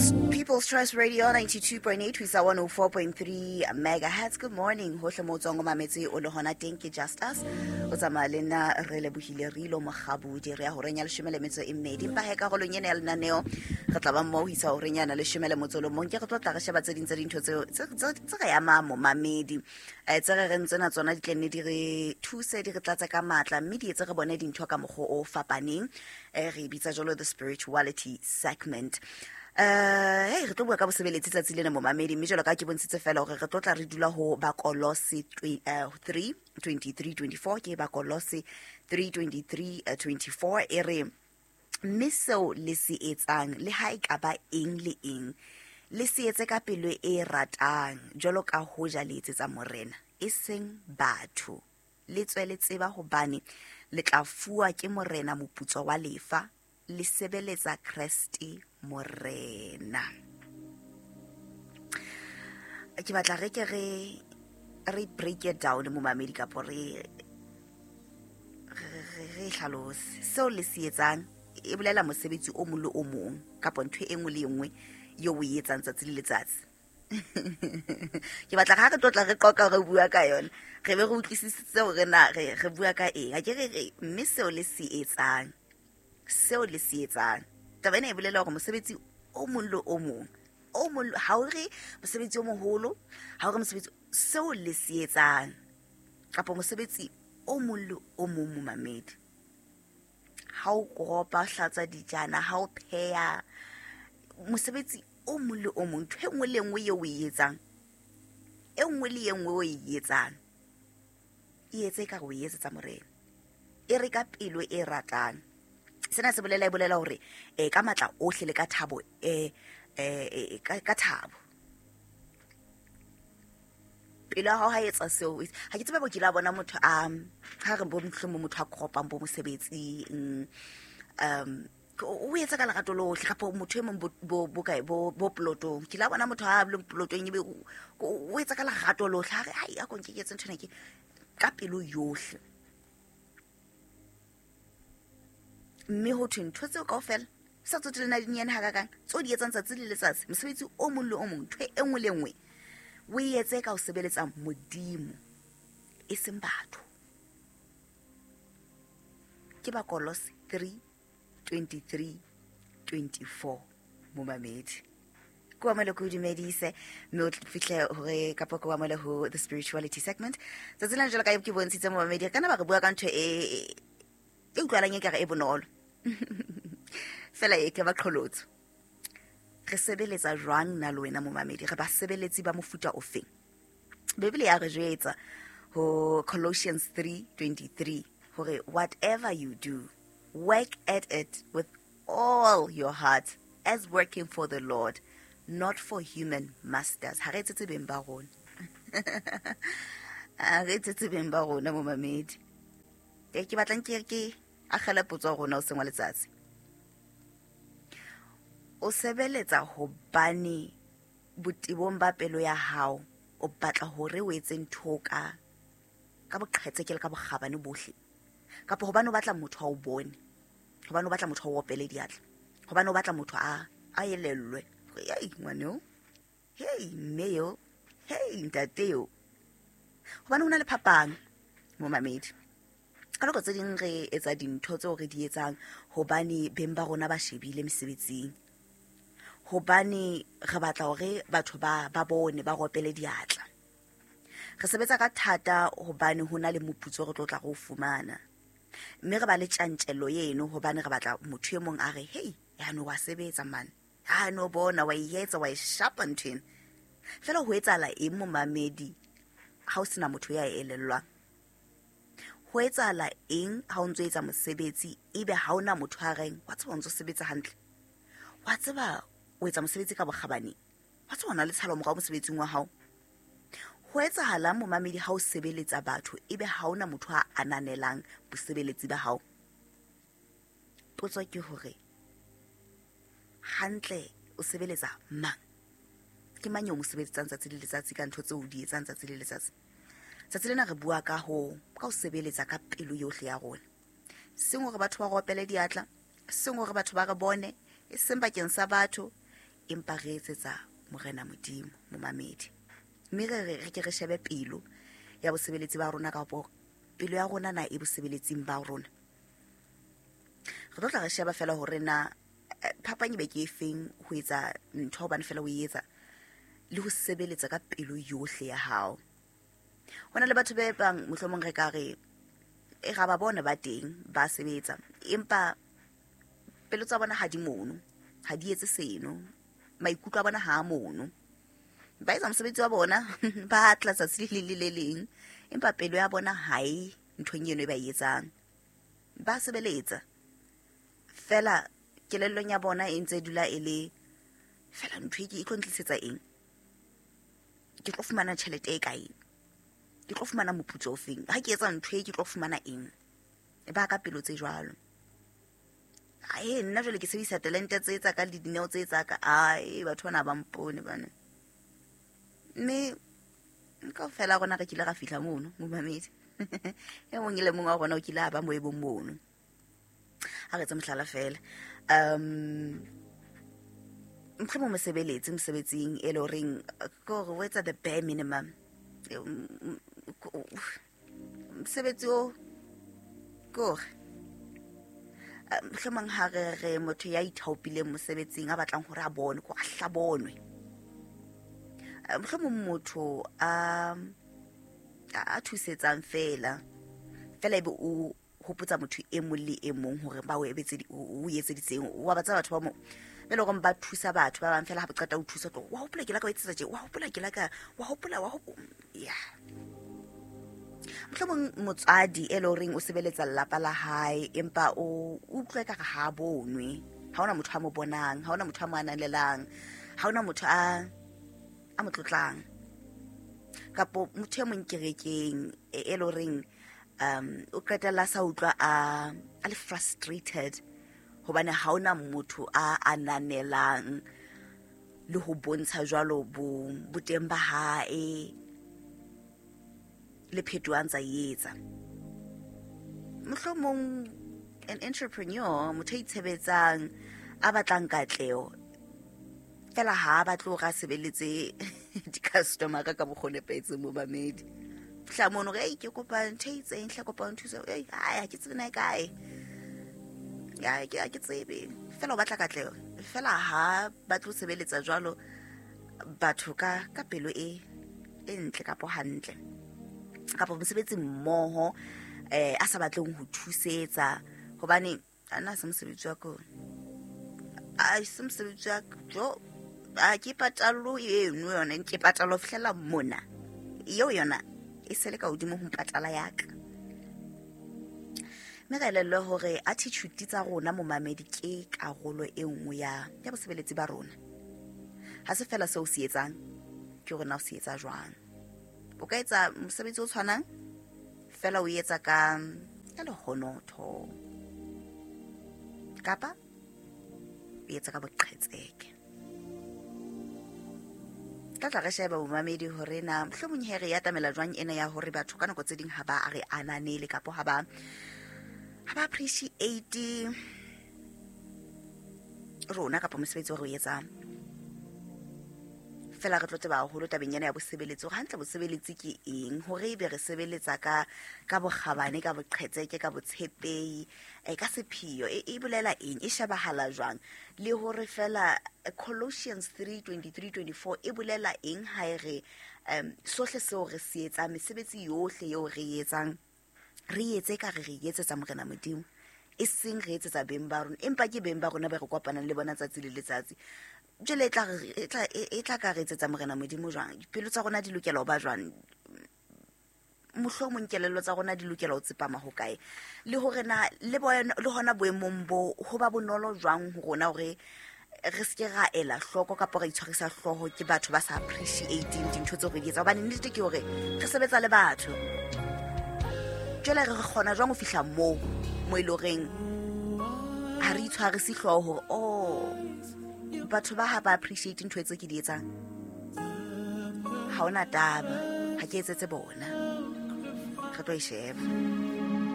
People's Choice Radio 92.8 ho isa 104.3 megahertz. Good morning hohle mo tswang o mametse o le hona teng ke Just Us. O tsamaya le nna re lebohile re ilo mogabodi re ya horeng ya leshome le metso e mmedi. Empa he karolong ena ya lenaneo re tla ba mmoho ho isa horeng yana leshome le motso le mong ke re tlo tla re sheba tse ding tsa dintho tseo tse re amang momamedi. Tse re reng tsena tsona di tle nne di re thuse di re tlatse ka matla mme di etse re bone dintho ka mokgwa o fapaneng. Re e bitsa jwalo the spirituality segment. Hey re tlo bua ka bosebeletsi tsatsi lena momamedi mme jwalo ka ke bontshitse fela hore re tlo tla re dula ho Bakolose 3 23 24 ke Bakolose 3 23 24 e re mme seo le se etsang le ha e ka ba eng le eng le se etse ka pelo e ratang jwalo ka hoja le etsetsa Morena e seng batho. Le tswe le tseba hobane le tla fuwa ke Morena moputso wa lefa, le sebeletsa Kreste Morena. Ke batla re ke re re break it down momamedi kapo re re hlalose seo le se etsang e bolela mosebetsi o mong le o mong kapo ntho e nngwe le e nngwe eo o e etsang tsatsi le letsatsi. Ke batla ga re tlotla re qoqa re bua ka yona re be re utlwisisitse hore na re re bua ka eng. Ha ke re re mme seo le se etsang, seo le se etsang taba ena e bolela hore mosebetsi o mong le o mong o mong ha o re mosebetsi o moholo, ha o re mosebetsi seo le se etsang kapa mosebetsi o mong le o mong momamedi. Ha o koropa, o hlatswa dijana, ha o pheha, mosebetsi o mong le o mong, ntho e nngwe le e nngwe eo o e etsang, e nngwe le e nngwe o e etsang, e etse ekare o e etsetsa Morena. E re ka pelo e ratang. Sena se bolela e bolela hore ka matla ohle le ka thabo ka thabo. Pelo ya hao ha etsa seo, ha ke tsebe bo kile a bona motho a ha re bo mohlomong motho a koropang bo mosebetsing, o etsa ka lerato lohle kapa motho e mong bo kae bo plotong. Ke la bona motho a leng plotong ebe o etsa ka lerato lohle, ha re ai a ko nke ke etse nthwena ke ka pelo yohle. Mme ho thwe ntho tseo kaofela sa tsotelle na di nyane hakakang tseo di etsang tsatsi le letsatsi, mosebetsi o mong le o mong, ntho e nngwe le nngwe o e etse ka ho sebeletsa Modimo e seng batho. Ke Bakolose 3 23 24 momamedi. Ke wa mole ke o dumedise mme o fihle hore kapa ke wa mole ho the spirituality segment. Tsatsi lena jwalo ka ke bontshitse momamedi, re kana ba re bua ka ntho e e utlwalang ekare e bonolo. Fela e ke ba qholotso. Re sebeletsa jwang nna le wena momamedi? Re basebeletsi ba mofuta ofeng? Bibele ya re jwetsa ho Colossians 3:23 hore whatever you do, work at it with all your heart as working for the Lord, not for human masters. Ha re etsetse beng ba rona. Ha re etsetse beng ba rona momamedi. Ke batlang ke ke akgele potso ya rona o seng wa letsatsi. O sebeletsa hobane botebong ba pelo ya hao o batla hore o etse ntho ka ka boqhetseke le ka bokgabane bohle, kapa hobane o batla motho a o bone, hobane o batla motho a o opele diatla, hobane o batla motho a elellwe hore, hei ngwaneo, hei mme eo, hei ntate eo. Hobane ho na le phapang momamedi. Ka nako tse ding re etsa dintho tseo re di etsang hobane beng ba rona ba shebile mesebetsing, hobane re batla hore batho ba bone, ba ropele diatla. Re sebetsa ka thata hobane ho na le moputso re tlo tla re o fumana, mme re ba le tjantjello eno hobane re batla motho e mong a re, hei, ya no wa sebetsa man, ha no bona wa e etsa, wa e shapa ntho ena. Fela ho etsahala eng momamedi ha o sena motho ya elellwang? Ho etsahala eng ha o ntso etsa mosebetsi ebe ha ona motho a reng wa tseba o ntso sebetsa hantle, wa tseba o etsa mosebetsi ka bokgabane, wa tseba o na le tshalo morao mosebetsing wa hao? Ho etsahala momamedi ha o sebeletsa batho ebe ha ona motho a ananelang bosebeletsi ba hao? Potso ke hore hantle o sebeletsa mang? Ke mang eo mo sebeletsang tsatsi le letsatsi ka ntho tseo o di etsang tsatsi le letsatsi? Tsatsi lena re bua ka ho sebeletsa ka pelo yohle ya rona, seng hore batho ba re opele diatla, seng hore batho ba re bone, e seng bakeng sa batho, Empa re etsetsa Morena Modimo, momamedi. Mme re ke re shebe pelo ya bosebeletsi ba rona, kapo pelo ya rona na e bosebeletsing ba rona. Re tlo tla re sheba fela hore na phapang e be ke efeng ho etsa ntho hobane fela o e etsa, le ho sebeletsa ka pelo yohle ya hao. Ho na le batho ba bang mohlomong re ka re e ga ba bona ba teng ba sebetsa, empa pelo tsa bona ha di mono, ha di etse seno, maikutlo a bona ha a mono. Ba etsa mosebetsi wa bona, ba tla tsatsi le leng le le leng, empa pelo ya bona ha e nthong eno e ba e etsang. Ba sebeletsa fela, kelellong ya bona e ntse e dula e le fela ntho e ke e tlo ntlisetsa eng, ke tlo fumana tjhelete e kae, ke tlo fumana moputso o feng, ha ke etsa ntho e ke tlo fumana eng. Ba ka pelo tse jwalo. Ae, nna jwale ke sebedisa talente tse tsa ka le dineo tse tsa ka. Ae, batho bana ba mpone bana. Mme kaofela rona re kile ra fihla mono, momamedi. E mong le mong wa rona o kile a ba moo e bong mono. Ha re etse mohlala fela. Mohlomong mosebeletsi mosebetsing e le horeng ke hore o etsa the bare minimum. Mosebetsi o ke hore mohlomong ha re re motho ya ithaopileng mosebetsing a batlang hore a bone, ko a hlabonwe. Mohlomong motho a thusetsang fela fela ebe o hopotsa motho e mong le e mong hore ba o o etseditseng, wa ba tseba batho ba mo be le hore ba thusa batho ba bang fela ha ba qeta ho thusa, tlo wa hopola ke la ka o etsetsa tje, wa hopola ke la ka, wa hopola, wa hopola ya. Mohlomong motswadi e le horeng o sebeletsa lelapa la hae, empa o utlwe ka re ha a bonwe, ha hona motho a mo bonang, ha hona motho a mo ananelang, ha hona motho a mo tlotlang. Kapo motho e mong kerekeng e le horeng o qetella sa utlwa a le frustrated hobane ha hona motho a ananelang le ho bontsha jwalo boteng ba hae le phetoho a ntsa e etsa. Mohlomong an entrepreneur, motho a itshebetsang, a batlang katleho, fela ha a batle hore a sebeletse di-customer ka mokgwa o nepahetseng momamedi. Fihla mono hore, ei, ke kopa ntho e itseng, hle kopa o nthuse. Ei, hai, ha ke tsebe na e kae. Ha ke tsebe. Fela o batla katleho. Fela ha batle ho sebeletsa jwalo batho ka pelo e ntle kapo hantle. Kapo mosebetsi mmoho, a sa batleng ho thusetsa hobane ana se mosebetsi wa ka. Ai, se mosebetsi wa ka. Jo, a ke patalo eno yona, ke patalo ho fihlela mona. Eo yona e sele ka hodimo ho mpatala ya ka. Mme re elellwe hore attitude tsa rona momamedi ke karolo e nngwe ya bosebeletsi ba rona. Ha se fela seo se etsang, ke hore na o se etsa jwang. O ka etsa mosebetsi o tshwanang fela o etsa ka lehonotho, kapa o etsa ka boqhetseke. Tla tla re sheba bomamedi hore na mohlomong he re e atamela jwang ena ya hore batho ka nako tse ding ha ba re ananele kapo ha ba appreciate rona kapa mosebetsi o re o etsang. Fela re tlo tseba haholo tabeng ena ya bosebeletsi hore hantle bosebeletsi ke eng, hore ebe re sebeletsa ka bokgabane, ka boqhetseke, ka botshepehi, ka sepheo, e bolela eng, e shebahala jwang, le hore fela Colossians 3:23-24 e bolela eng ha e re sohle seo re se etsang, mesebetsi yohle eo re e etsang, re etse ka re etsetsa Morena Modimo, e seng re etsetsa beng ba rona, empa ke beng ba rona ba re kopanang le bona tsatsi le letsatsi. Jwale e tla ka re etsetsa Morena Modimo jwang? Dipelo tsa rona di lokela ho ba jwang? Mohlomong kelello tsa rona di lokela ho tsepama ho kae? Le hore na le hona boemong bo ho ba bonolo jwang ho rona hore re se ke ra ela hloko kapa ra itshwarisa hlooho ke batho ba sa appreciating dintho tseo re di etsang, hobane nnete ke hore re sebetsa le batho. Jwale re kgona jwang ho fihla moo mo e le horeng ha re itshwarise hlooho hore oh, batho ba ha ba appreciate ntho tse ke di etsang, ha hona taba, ha ke etsetse bona. Re tlo e sheba.